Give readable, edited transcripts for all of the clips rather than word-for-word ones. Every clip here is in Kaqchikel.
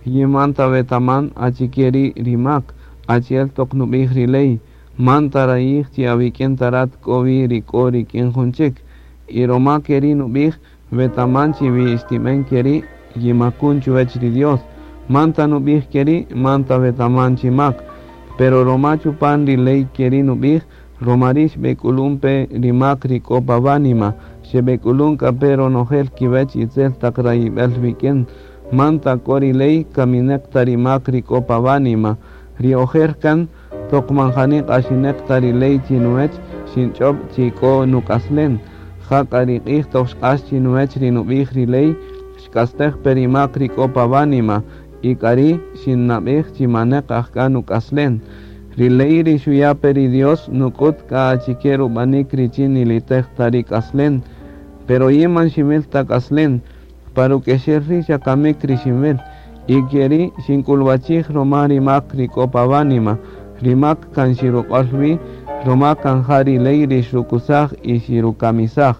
Yin man ta wetaman achike ri' ri mak, achi'el toq nub'ij ri ley, man tarayij chi awik'in ta rat k'o wi ri k'o rik'in jun chik. Y roma keri' nub'ij, wetaman chi wi xtib'en keri', yimakun chuwech ri Dios. Man ta nub'ij keri', man ta wetaman chi mak. Pero roma chupan ri ley keri' nub'ij, roma ri' xb'ek'ulun pe ri mak ri k'o pa wánima, xeb'ek'ulun k'a pe ronojel kiwech itzel taq rayib'el wik'in. Man ta k'o ri ley, kamineq ta ri mak ri k'o pa wánima. Ri ojer kan, toq man jani q'axineq ta ri ley chinuwech, xinch'ob' chi k'o nuk'aslen. Jak'a ri q'ij toq xq'ax chinuwech ri nub'ij ri ley, xk'astej pe ri mak ri k'o pa wánima, y k'ari' xinnab'ej chi maneq ajk'a nuk'aslen. Ri ley ri xuya' pe ri Dios nuk'ut k'a achike rub'anik richin nilitej ta ri k'aslen. Pero yin man xinwil ta k'aslen, pa ruk'exel ri' xa kamik ri xinwil. Y keri' xink'ulwachij roma ri mak ri k'o pa wánima. Ri mak kan xiruq'ol wi, roma kan ja ri ley ri xrukusaj y xirukamisaj.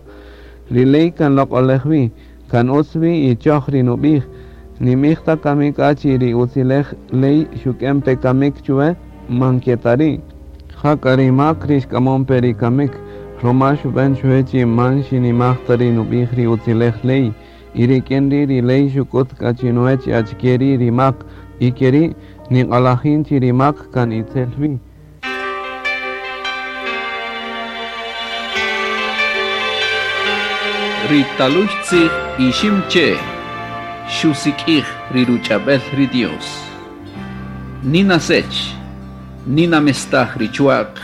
Ri ley kan loq'olej wi, kan utz wi y choj ri nub'ij. Ninb'ij ta kami k'a chi ri utzilej ley xuk'en pe kamik chuwe, man ke ta ri'. Jak'a ri mak ri xk'amon pe ri kamik, roma xub'en chuwe chi man xinimaj ta ri nub'ij ri utzilej ley. Y rik'in ri' ri ley xuk'ut k'a chinuwech achike ri' ri mak, y keri' niq'alajin chi ri mak kan itzel wi. Ri taluy tzij Iximche' xusik'ij ri ruch'ab'el ri Dios. Nina sech, nina mestaj ri chwa'q,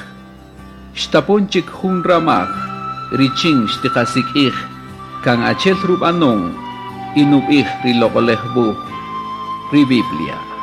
xtapon chik jun ramaj richin xtiqasik'ij kan achi'el rub'anon y nub'ij ri Loq'oläj Wuj, ri Biblia.